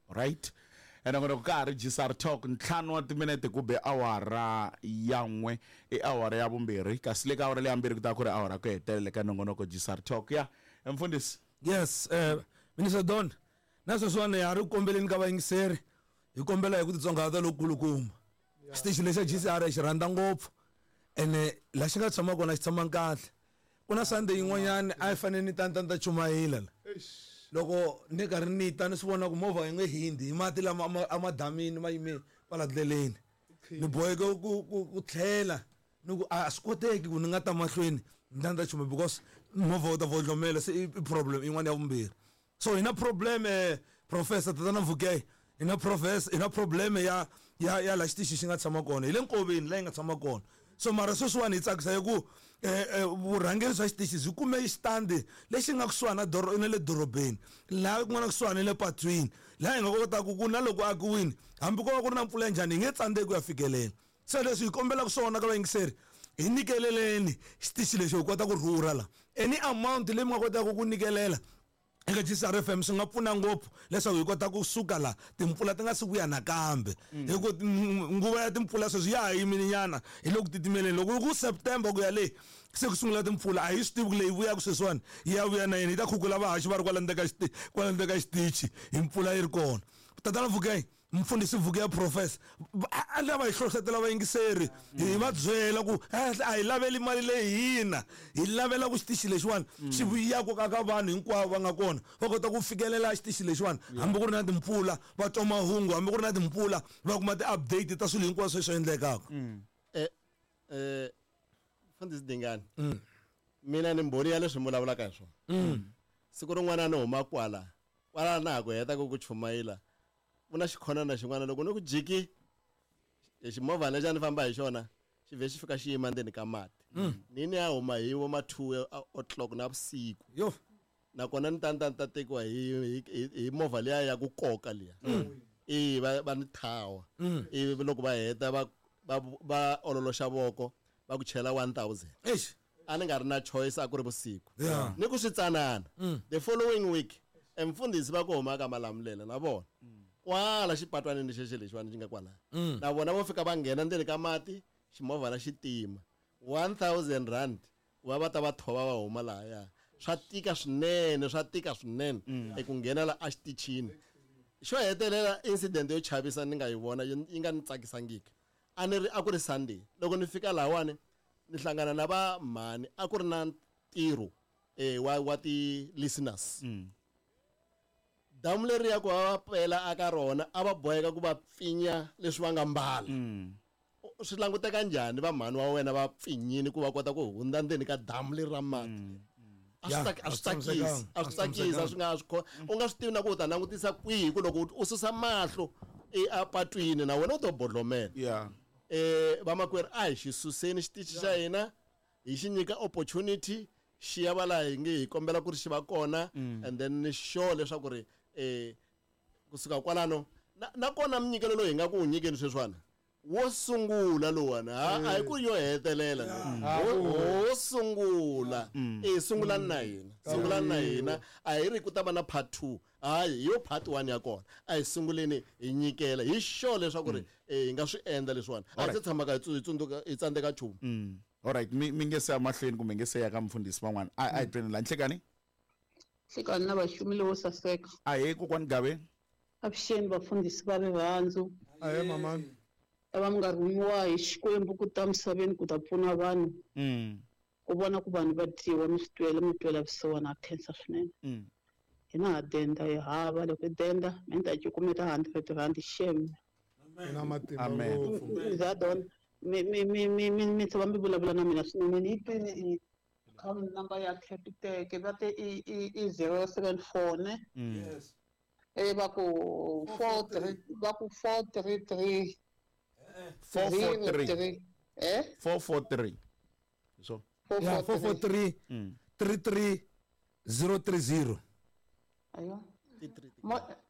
Right? Ene ka ha ri GCR Talk ntlhanu wa timinete ku be awara ya n'we i awara ya vumbirhi kasi le ka awara leya mbirhi ku ta ku ri awara ku hetelela ka nongonoko GCR Talk ya mfundhisi. Yes, Minister Don, na sweswiwani ha ri ku kombeleni ka vayingiseri hi kombela hi ku titsongahata lokukulukumba. Xitichi lexa GCR hi xi rhandza ngopfu ene laha xi nga tshama kona xi tshama kahle. Ku na Sunday yin'wanyana a yi fanele ni ta ni ta ni ta chumayela la. Loko ni karhi ni ta ni swi vona ku movha yi nge hundzi hi mati lama a ma damini ma yime kwala ndleleni. Ni boheke ku ku ku tlhela ni ku a swi koteki ku ni nga ta mahlweni ni ta ni ta chumayela because movha wu ta vohlomela se i problem yin'wana ya vumbirhi. So hi na problem professor tatana Mvukeye hi na professor hi na problem ya ya ya la xitichi xi nga tshama kona hi le nkoveni la yi nga tshama kona so mara sweswiwani hi tsakisa hi ku vurhangeri bya xitichi byi kume xitandi lexi nga kusuhani na doro na le dorobeni laha ku nga na kusuhani na le patwini laha hi nga kotaka ku na loko akiwini hambi ko va ku ri na mpfula ya njhani hi nge tsandzeki ku ya fikelela se leswi hi kombelaka swona ka vayingiseri hi nyikeleleni xitichi lexi hi kota ku rhurha la any amount leyi mi nga kotaka ku nyikelela eka GCR FM swi nga pfuna ngopfu leswaku hi kota ku suka la timpfula ti nga si vuya nakambe hi ku nguva ya timpfula sweswi ya ha yimile nyana hi le ku titimeleni loko ku September ku ya le se ku sungula timpfula a hi swi tivi ku leyi vuyaka sweswiwani yi ya vuya na yini yi ta khukhula vahaxi va ri kwala ndzeni ka kwala ndzeni ka xitichi hi mpfula yi ri kona tatana Vukeng mfundhisi Vukeya professor a lava hi hlohletela vayingiseri hi va byela ku a hi laveli mali leyi hina hi lavela ku xitichi lexiwani xi vuyaku ka ka vanhu hinkwavo va nga kona va kota ku fikelela xitichi lexiwani hambi ku ri na timpfula va twa mahungu hambi ku ri na timpfula va kuma ti-update ta swilo hinkwaswo leswi endlekaka. Mfundhisi Dingani mina ni mbhoni ya leswi mi vulavulaka hi swona. Siku rin'wana ni huma kwala kwala na ha ku heta ku ku chumayela ku na xikhonana xin'wana loko ni ku jiki ximovhana lexi a ni famba hi xona xi vhe xi fika xi yima ndzeni ka mati ni ni ya huma hi vo ma 2 o'clock na vusiku yo nakona ni ta ni ta ni ta tekiwa hi hi hi movha liya ya ku koka liya i va va ni thawa ivi loko va heta va va va ololoxa voko va ku chela 1000 eish a ni nga ri na choice a ku ri vusiku Yeah. ni ku swi tsanana the following week emfundhisi va ku huma ka Malamulele na vona kwala xipatwanini xexo lexiwani xi nga kwalaya na vona vo fika va nghena ndzeni ka mati ximovhana xi tima 1000 rand ku va va ta va thova va huma lahaya swa tika swinene swa tika swinene eku nghena la exitichini xo hetelela incident yo chavisa ni nga yi vona yi nga ni tsakisangiki a ni ri a ku ri Sunday loko ni fika lahawani ni hlangana na va mhani a ku ri na ntirho wa wa ti listeners damu leriya ku va va pela aka rona a va boheka ku va pfinya leswi va nga mbala swi languteka njhani va mhani wa wena va pfinyini ku va kota ku hundza ndzeni ka damu leri ra mati a swi a swi tsakisi a swi tsakisi a swi nga swi u nga swi tivi na ku u ta langutisa kwihi ku loko u susa mahlo epatwini na wena u to bodlomela yeah vamakwerhu a hi xi suseni xitichi xa hina hi xi nyika opportunity xi ya va laha hi nge hi kombela ku ri xi va kona and then ni sure leswaku ri kusuka kwalano nakona minyikelo loyi hi nga ku wu nyikeni sweswiwani wo sungula lowani a hi ku yo hetelela wo sungula sungulani na hina sungulani na hina a hi ri ku ta va na part 2 hayi hi yo part 1 ya kona a hi sunguleni hi nyikela hi sure leswaku ri hi nga swi endla leswiwani a hi se tshamaka hi tsundzuka hi tsandzeka nchumu. Alright mi nge se ya mahlweni kumbe nge se ya ka mfundhisi van'wana a hi tweni la nhlekani. Nhlekani na vaxumi lowo saseka. Ahee kokwani Gabe. Avuxeni vafundhisi va rirhandzu. Ahee mamani. Lava mi nga rhumiwa hi Xikwembu ku ta misaveni ku ta pfuna vanhu. Ku vona ku vanhu va dyiwa mi swi twela mi twela vusiwana ha khensa swinene. Hina ha denda hi hava loko hi denda mi ta cukumeta 100 rand xem. Na matimba ngopfu. Zadon mi mi mi mi mi mi tshama mi vulavula na mina swinene ni yi twini i account number ya Capitec va te i i i 074 ne. Yes. Va ku 43 va ku 433 443 443 so yeah 443 33 030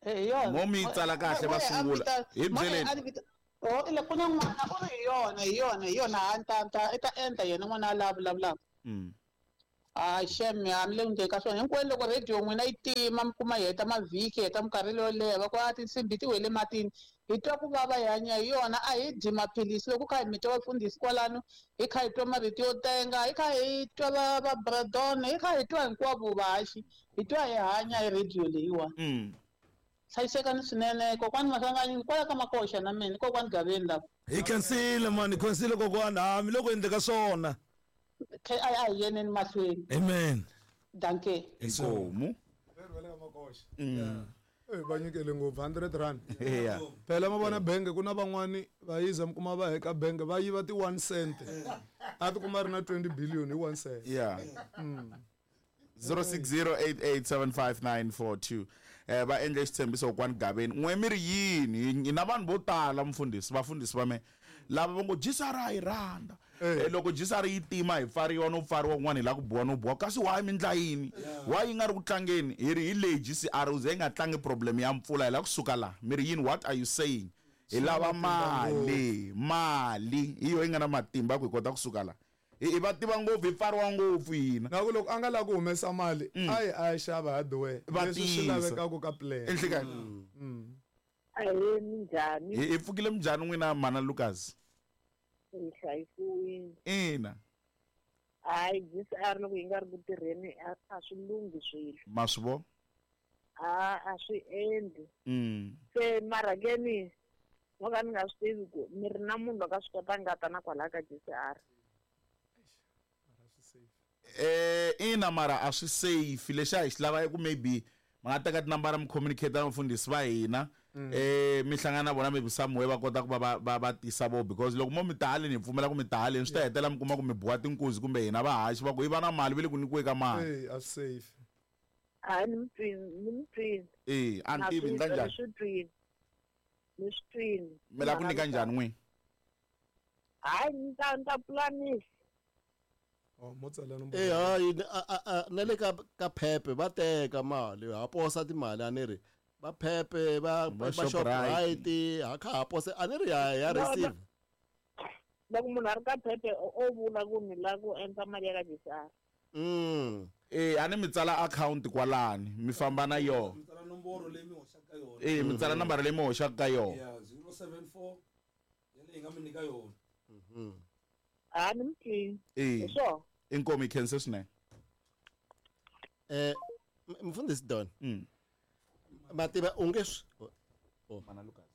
ayo mo mi tsala kahle va sungula hi byeleni o ile ku na n'wana u ri hi yona hi yona hi yona a ta ta i ta endla yena n'wana a la vulavulaka. Hayi shem ya mi le ku ndleni ka swona hinkwenu. Loko radio n'wina yi tima, mi kuma yi heta mavhiki, heta minkarhi leyo leha, va ku a tinsimbhi ti wele matini, hi twa ku vava, hi hanya hi yona. A hi dyi maphilisi loko kha hi mi twa vafundhisi kwalano, hi kha hi twa marito yo tenga, hi kha hi twa va bradon, hi kha hi twa hinkwavo vahaxi, hi twa hi hanya hi radio leyiwani. Hlayisekani swinene kokwani Maswanganyi, kwala ka Makoxa na mina kokwani Gaveni lava. Hi khensile mani, hi khensile kokwani, ha mi le ku endle ka swona. A hi yeneni mahlweni. Amen. Danke. Inkomu. Va nyikele ngopfu 100 rand. Yeah. Phela ma vona benge ku na van'wani va yiza mi kuma va heka benge va yiva ti 1 cent. A ti kuma ri na 20 billion hi 1 cent. Yeah. 0608875942. Va endle xitshembiso kokwani Gaveni. N'we mi ri yini? Hi na vanhu vo tala mfundhisi, vafundhisi va me lava va ngo GCR a yi rhandza. Loko GCR yi tima hi pfariwa no pfariwa kun'wana hi lava ku biwa no biwa, kasi why mi ndla yini? Why yi nga ri ku tlangeni? Hi ri hi leyi GCR u ze yi nga tlangi problem ya mpfula, hi lava kusuka laha. Mi ri yini? What are you saying? Hi lava mali, mali hi yo yi nga na matimba ku hi kota kusuka laha. Hi va tiva ngopfu, hi pfariwa ngopfu hina. Na ku loko a nga lavi ku humesa mali, a yi a ya xava hardware. Va Leswi swi tiyisa. lavekaka ka plan. Enhlekani. Ahee, minjhani? Hi pfukile minjhani n'wina mana Lucas? Hi hlayisiwile. Ina. Hayi, GCR loko yi nga ri ku tirheni a swi lunghi swilo. Ma swi vona? A swi endli. Se mara ke ni no ka ni nga swi tivi ku mi ri na munhu loyi a swi kotaka nga ta na kwalaya ka GCR. Ina mara a swi safe. Lexi a hi xi lava i ku maybe ma nga teka tinambara mi communicate na vafundhisi va hina. Mi hlangana na vona maybe somewhere va kota ku va tisa vo, because loko mo mi ta haleni hi pfumela ku mi ta haleni, swi ta hetelela mi kuma ku mi biwa tinkuzi kumbe hina vahaxi va ku hi va na mali va le ku nyikiweni ka mali. A swi safe. Hayi, ni mi twini, ni mi twini. A ni tivi, ni ta njhani? Ni swi twini. Ni swi twini. Mi lava ku nyika njhani n'wini? Hayi, ni ta pulanisa. Oh, mo tsala nomboro. Hayi, na le ka Phepe va teka mali, ha posa timali a ni ri. Va Phepe, Va va Shoprite. Shoprite, ha kha ha posa, a ni ri ya No, no. receive. Loko munhu a ri ka Phepe, o vula ku ni lava ku endla mali ya ka GCR. A ni mi tsala account kwalani, mi famba na yona. Mi tsala nomboro leyi mi hoxaka ka yona. Mi tsala nambara leyi mi hoxaka ka yona. Yeah, 074, ya leyi nga mi nyika yona. Ha, ni mi twini. Hi swona. Inkomu, hi khense swinene. Mfundhisi Don. Mativa u nge swi Oh. Mana Lucas.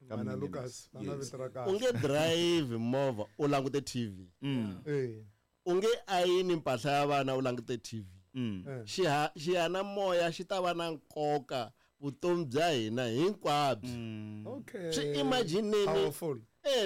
Mana Lucas, va na vito ra kahle. U nge drive movha u langute TV. U nge ayini mpahla ya vana u langute TV. Xiyanimoya xi ta va na nkoka vutomi bya hina hinkwabyo. Okay. Swi imagineni. Powerful.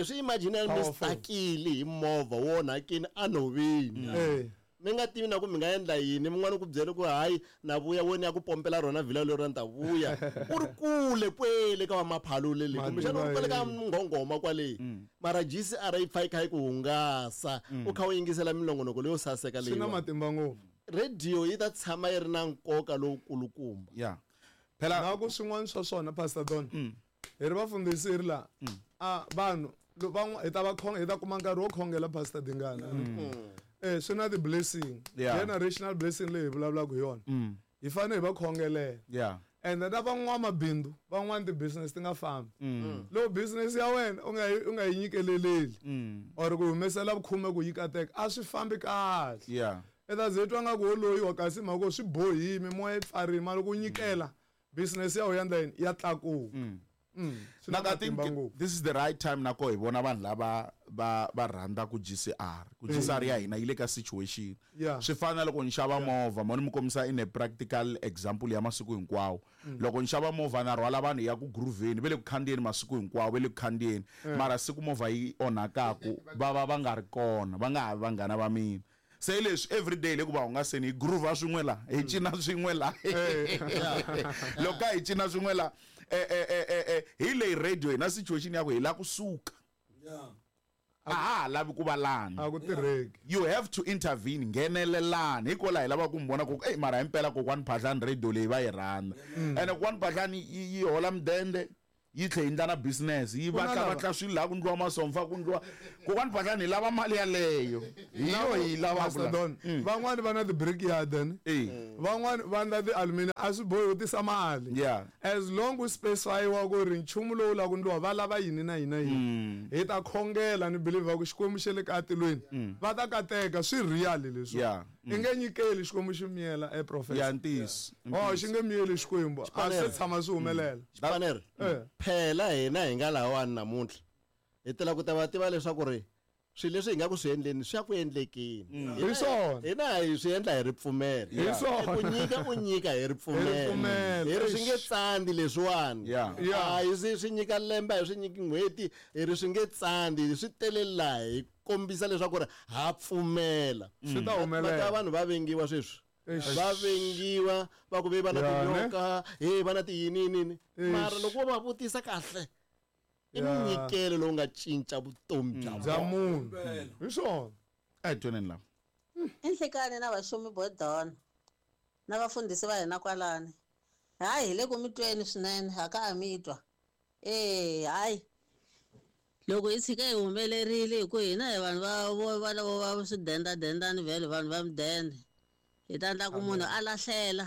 Swi imagineni mi Powerful. stakile hi movha wo onhakini enhoveni. Mi nga tivi na ku mi nga endla yini, min'wana ku byele ku hayi na vuya wena ya ku pompela rona vhila lero ni ta vuya. U ri kule kwele ka va maphalule le, kumbexana u ri kwele ka nghonghoma kwale. Mara GCR yi pfa yi kha yi ku hungasa, u kha u yingisela minongonoko leyo saseka Swi na leyiwani. matimba ngopfu. Radio yi ta tshama yi ri na nkoka lowukulukumba. Yeah. Phela na ku swin'wana swa swona Pastor Don. Hi ri vafundhisi hi ri laha. Vanhu van'wa, hi ta va khonge, hi ta kuma nkarhi wo khongela Pastor Dingana. Swi na ti-blessing. Generational blessing leyi hi vulavulaka hi yona. Hi fanele hi va khongelela. And na van'wamabindzu, van'wani ti-business ti nga fambi. Loko business ya wena u nga yi nyikeleleli, or ku humesela vukhume ku yi kateka, a swi fambi kahle. I ta ze twa nga ku wo loyiwa kasi mhaka ku swi bohile, mimoya yi pfarile, mara loko u nyikela, business ya wena ya endla yini? Ya tlakuka. Swi na Like, I think matimba ngopfu. this is the right time nako hi vona vanhu lava va rhandza ku GCR. Ku GCR ya hina yi le ka situation. Swi fana na loko ni xava movha, mo ni mi kombisa in a practical example ya masiku hinkwawo. Loko ni xava movha na rhwala vanhu ya ku grooveni, va le ku khandziyeni masiku hinkwawo, va le ku khandziyeni. Mara siku movha yi onhakaku, va va va nga ri kona, va nga ha vi vanghana va mina. Se hi leswi everyday le ku va hungaseni hi groove swin'we la, hi cina swin'we la. Loko ka hi cina swin'we la, hi leyi radio hi na situation ya ku hi la kusuka. A ha ha lavi ku va lani. A ku tirheki. You have to intervene, nghenelelani. Hikwalaho hi lava ku mi vona ku, ey, mara himpela kokwani Phahlani radio leyi va yi rhandza. Ene kokwani Phahlani yi hola mudende. Yi tlhe yi endla na business yi Ku na vatla lava- vatla swilo laha ku ndliwa masomfa ku ndliwa kokwani Phahlani hi lava mali yaleyo hi yo hi yi lavaka Pastor la. Don, van'wani va na ti-brickyard ni Eh. van'wani va endla ti-aluminium a swi bohi u tisa mali Yeah. As long u specify-iwa ku ri nchumu lowu lava ku ndliwa va lava yini na yini na yini hi ta khongela ni believe ku Xikwembu xa le ka atilweni va ta kateka swi real leswi Yeah. I nge nyikeli Xikwembu xi miyela e professor Ya ntiyiso. Oh xi nge miyeli Xikwembu a swi Xipanere. tshama swi humelela. Xipanere. Eh. Phela hina hi nga lahawani namuntlha hi tela ku ta va tiva leswaku ri swilo leswi hi nga ku swi endleni swi ya ku endlekeni. Hi swona. Hina hi swi endla hi ripfumelo. Hi swona. Ku nyika u nyika hi ripfumelo. Hi ripfumelo. Hi ri swi nge tsandi leswiwani. Yeah. Yeah. A hi swi nyika lembe a hi swi nyiki n'hweti hi ri swi nge tsandi swi tele laha hi kombisa leswaku ri ha pfumela. Swi ta Va ta humelela. vanhu va vengiwa sweswi. Eish. Va vengiwa va ku ve va na Ya, ne? tinyoka he va na tiyiniyini Eish. mara loko wo va vutisa kahle i Ya. munyikelo lowu nga cinca vutomi bya Bya vona. munhu. Hi swona. A hi twaneni lava. Enhlekani na vaxumi bodona na vafundhisi va hina kwalani hayi hi le ku mi tweni swinene ha ka a mi twa e hayi loko hi tshika hi humelerile hi ku hina hi vanhu va vo va lavo va swidendadendani vhele vanhu va mudende hi ta endla ku munhu a lahlela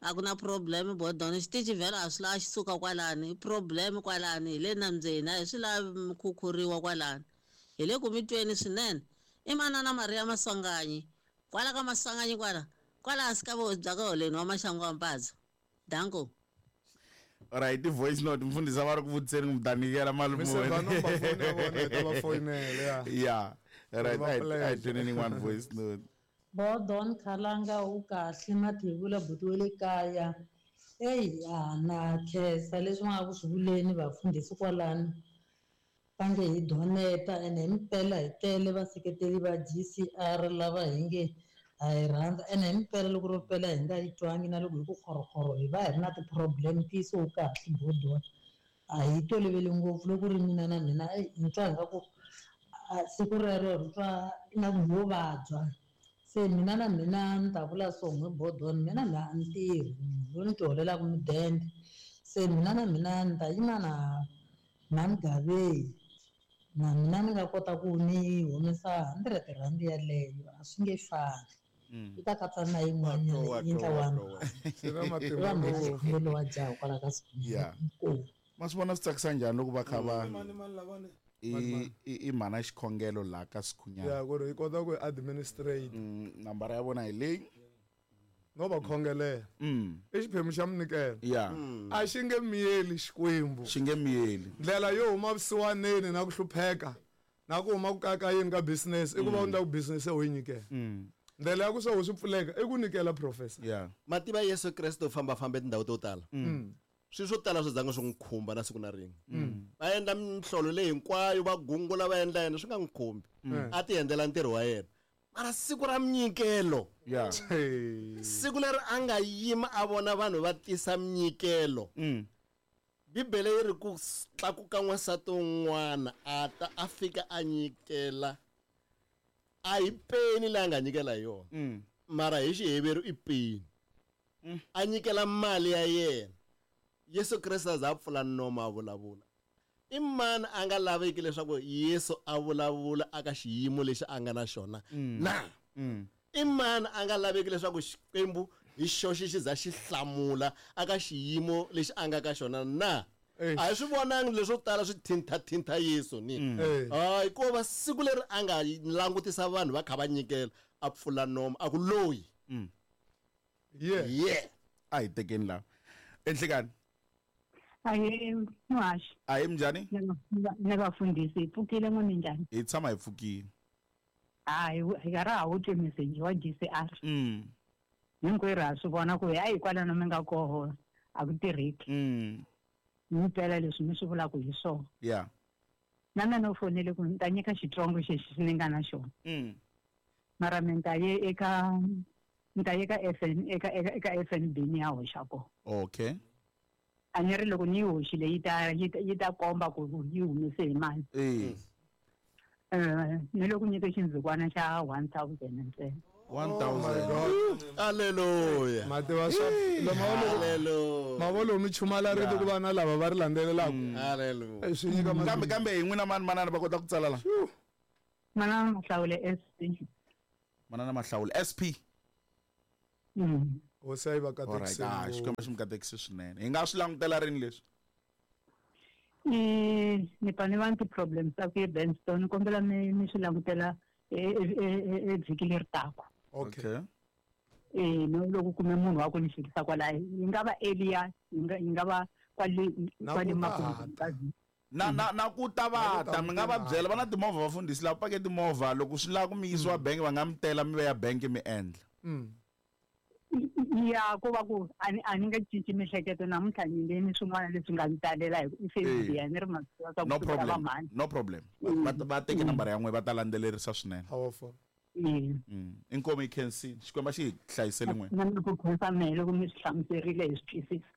a ku na problem bodona xitichi vhele a swi lavi xi suka kwalani i problem kwalani hi le nambyeni a hi swi lavi mi khukhuriwa kwalani hi le ku mi tweni swinene i manana Maria Maswanganyi kwala ka Maswanganyi kwala kwala hansi ka vuhosi bya ka holeni wa maxangu wa mpadzo danko. Alright, i-voice note mfundhisi a va ri ku vutiseni ku mi ta nyikela mali Mi muni. senda number phone ya vona hi ta va foyinela ya. Yeah. Alright, Va a hi pleasure. twaneni yin'wana voice note. Bodon Khalanga u kahle Mathebula buti wa le kaya. Eyi a na khensa leswi va nga ku swi vuleni vafundhisi kwalano va nge hi doneta ene hi mpela hi tele vaseketeli va G_C_R lava hi nge ha yi rhandza ene hi mpela loko ro pela hi nga yi twangi na loko hi ku khorokhoro hi va hi ri na ti-problem ntiyiso wu kahle Bodon a hi toloveli ngopfu loko ri mina na mina eyi ni twa ingaku siku rero ri twa ingaku ho vabya se mina na mina ni ta vula so n'we Bodon mina na a ni tirhi munhu loyi ni ti holelaka mudende se mina na mina ni ta yima na Mhani na mina ni nga kota ku ni humesa R100 yaleyo a swi nge fani yi ta katsa na yin'wanyana yi endla R1 Swi na va matimba mhani ngopfu. xikhongelo wa jaha kwala ka Yeah. Inkomu. Ma swi vona swi tsakisa njhani loko va kha va Mani mani lavani. i mhana xikhongelo laha ka Sikhunyana. Ya ku ri hi kota ku administrate. Nambara ya vona hi leyi. No va khongelela. I xiphemu xa minyikelo. Yeah. A xi nge miyeli Xikwembu. Xi nge miyeli. Ndlela yo huma vusiwaneni na ku hlupheka na ku huma ku kakayeni ka business i ku va u endla ku business u yi nyikela. Ndlela ya ku swa swi pfuleka i ku nyikela professor. Yeah. Mativa Yesu Kreste u fambafamba etindhawu to tala. Swilo swo tala swi zanga swi n'wi khumba na siku na rin'we. Va endla mihlolo leyi hinkwayo va gungula va endla yena swi nga n'wi khumbi. A ti endlela ntirho wa yena. Mara siku ra minyikelo. Yeah. Siku leri a nga yima a vona vanhu va tisa minyikelo. Bibele yi ri ku tlakuka n'wansati un'wana a ta a fika a nyikela. A hi peni leyi a nga nyikela hi yona. Mara hi Xiheveru i peni. A nyikela mali ya yena. Yesu Kreste a za a pfula nomo a vulavula. I mani a nga laveki leswaku Yesu a vulavula aka xiyimo lexi a nga na xona na? I mani a nga laveki leswaku Xikwembu hi xoxe xi za xi hlamula aka xiyimo lexi a nga ka xona na? A hi swi vonangi leswo tala swi thinthathintha Yesu ni. Hayi ko va siku leri a nga langutisa vanhu va kha va nyikela a pfula nomo a ku loyi. Yeah. Yeah. A hi tekeni laha. Enhlekani. Ahe muhaxi. Ahe minjhani? Na vafundhisi hi pfukile n'we minjhani? Hi tshama hi pfukile. Hayi hi ka ra ha wu twi meseji wa G_C_R. Hinkwerhu ha swi vona ku hayi kwalano mi nga koho a ku tirheki. Mi mpela leswi mi swi vulaka hi swona. Yeah. Na mina no fonele ku ni ta nyika xitsongo xexi ni nga na xona. Mara mi ta ye eka ni ta ye ka F_N eka eka eka F_N_B ni ya hoxa kona. Okay. A ni ri loko ni yi hoxile yi ta yi ta yi ta komba ku yi humese hi mali. Ni le ku nyike xindzukwana xa 1000 ntsena. 1000. Hallelujah. Mativa swa Hallelujah. Mavolo mi chumala rito ku va na lava va ri landzelelaka. Hallelujah. Swi nyika kambe kambe hi n'wina mani manana va kota ku tsala la. Manana Mahlawule SP. Manana Mahlawule SP. Hosi a yi va katekise. Alright, Xikwembu xi mi katekise swinene. Hi nga swi langutela rini leswi? Ni pfa ni va ni ti-problems ta ku ye Benstone, ni kombela mi swi langutela vhiki leri taka. Okay. No loko kume munhu wa ku ni fikisa kwalaho, yi nga va earlier, yi nga va kwale makumu ka vhiki. Na ku ta va ta mi nga va byela va na timovha vafundhisi lava pake timovha loko swi lava ku mi yisiwa bank va nga mi tela mi ve ya bank mi endla. Ya ko va ku a ni nga cinci miehleketo namuntlha ni nge ni swin'wana leswi nga ni talela hi Facebook ya ni ri masiku No problem. No problem. Va teke nambara ya n'we va ta landzelerisa swinene. Powerful. Inkomu yi khensile. Xikwembu xi hi hlayisele n'we. Na ku khensa mehe loko mi swi hlamuserile hi swi twisisa.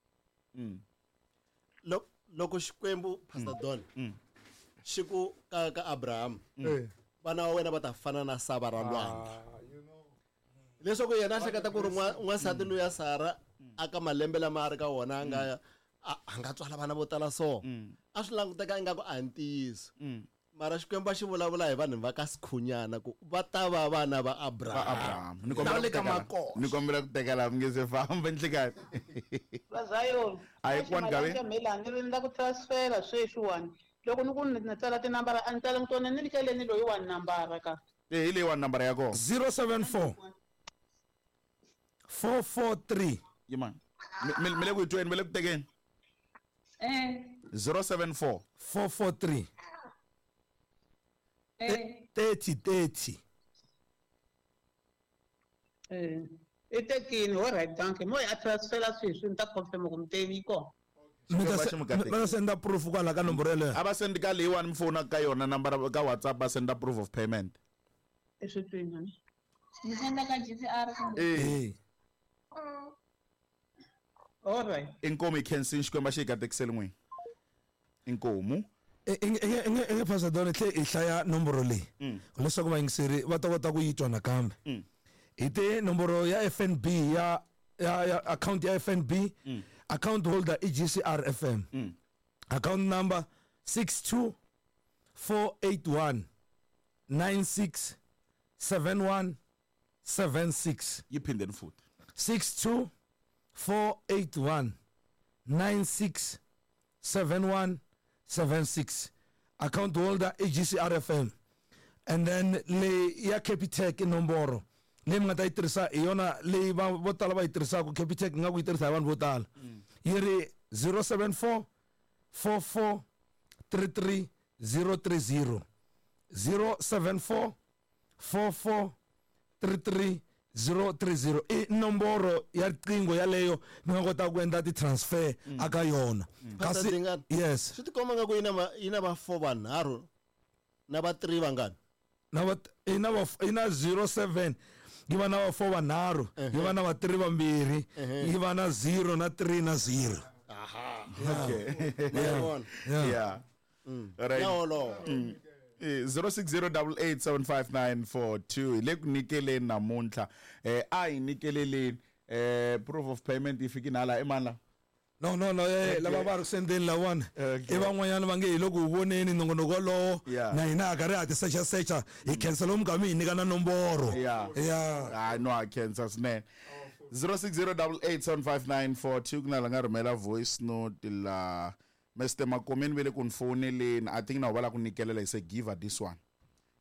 Loko Xikwembu Pastor Don xi ku ka Abraham vana va wena va ta fana na sava ra lwandle. Leswaku yena a hleketa ku ri n'wansati loyi ya Sara aka malembe lama a ri ka wona a nga a nga tswala vana vo tala so a swi languteka ingaku a ntiyiso. Mara Xikwembu a xi vulavula hi vanhu va ka Sikhunyana ku va ta va vana va Abraham. Ni kombela ku teka laha mi nge se famba nhlikani. Va Zion. A hi kwani gavi. Ni ri ni la ku transfera sweswiwani. Loko ni ku ni tsala tinambara a ni tsala tona ni nikeleni loyi wa nambara ka. Hi leyi wa nambara ya kona. 074 443. Yima. Mi le ku yi tweni, mi le ku tekeni. 074 443 30 30. I tekini, all right, thank you. Mo a transfera sweswi ni ta confirm ku mi tevi kona. Va ta senda proof kwala ka nomboro yeleyo. A va sendi ka leyiwani mi fonaka ka yona nambara ka WhatsApp va senda proof of payment. I swi twini. Ni senda ka GCR. All right. Inkomu yi khensini Xikwembu xi hi katekisele n'wini. Inkomu. Inge Pastor Don tlhe hi hlaya nomboro leyi leswaku vayingiseri va ta kota ku yi twa nakambe. Hi te nomboro ya FNB ya account ya FNB, account holder i GCR FM. Account number 62481 96 71 76. Yi phindeni futhi. 62481 96 71 76. Account holder i GCR FM. And then le ya Capitec nomboro leyi mi nga ta yi tirhisa hi yona leyi vo tala va yi tirhisaka. Capitec nga ku yi tirhisa hi vanhu vo tala. Yi ri 074 44 33 030. 074 44 33 030 i nomboro ya riqingho yaleyo mi nga kota ku endla ti-transfer aka yona. Kasi yes, swi tikomba nga ku yi na va 4 vanharhu na va 3 vangani na va ina 07 yi va na va 4 vanharhu yi va na va 3 vambirhi yi va na 0 na 3 na 0. Aha, okay. Yeah. Right. 0608875942 le ku nikeleni namuntlha. A hi nikeleleni proof of payment yi fikini hala i mani la? No lava va ri sendeni lawani i van'wanyana va nge hi loko u voneni nongonoko wolowo na hina ha karhi ha ti sechasecha hi khensa lomu ka mi hi nyika na nomboro. Yeah. No, a khensa swinene. 0608875942 ku na la nga rhumela voice note la Mr. Makomeni vele ku ni foneleni. I think na va la ku nikelela hi se give her this one.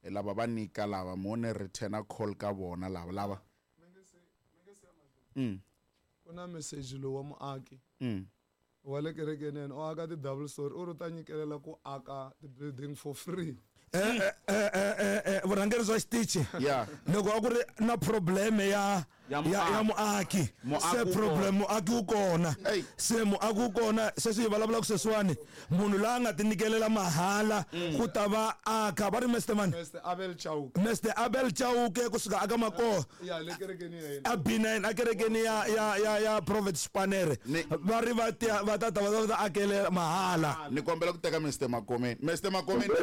Lava va nyika lava mo ni return a call ka vona lava lava. Ku na message lowu wa muaki wa le kerekeni yena u aka ti-double story u ri ta nyikelela ku aka ti-building for free. Vurhangeri bya xitichi loko a ku ri na problem ya muaki se problem muaki wu kona se muaki wu kona sweswi hi vulavulaka sweswiwani munhu loyi a nga ti nyikelela mahala ku ta va aka va ri Mr. Man Mr. Abel Chauke Mr. Abel Chauke kusuka aka Makoho ya le kerekeni ya yena a B9 a kerekeni ya Prophet Spanere va ri va ta ta va ta akele mahala. Ni kombela ku teka Mr. Makomeni. Mr. Makomeni.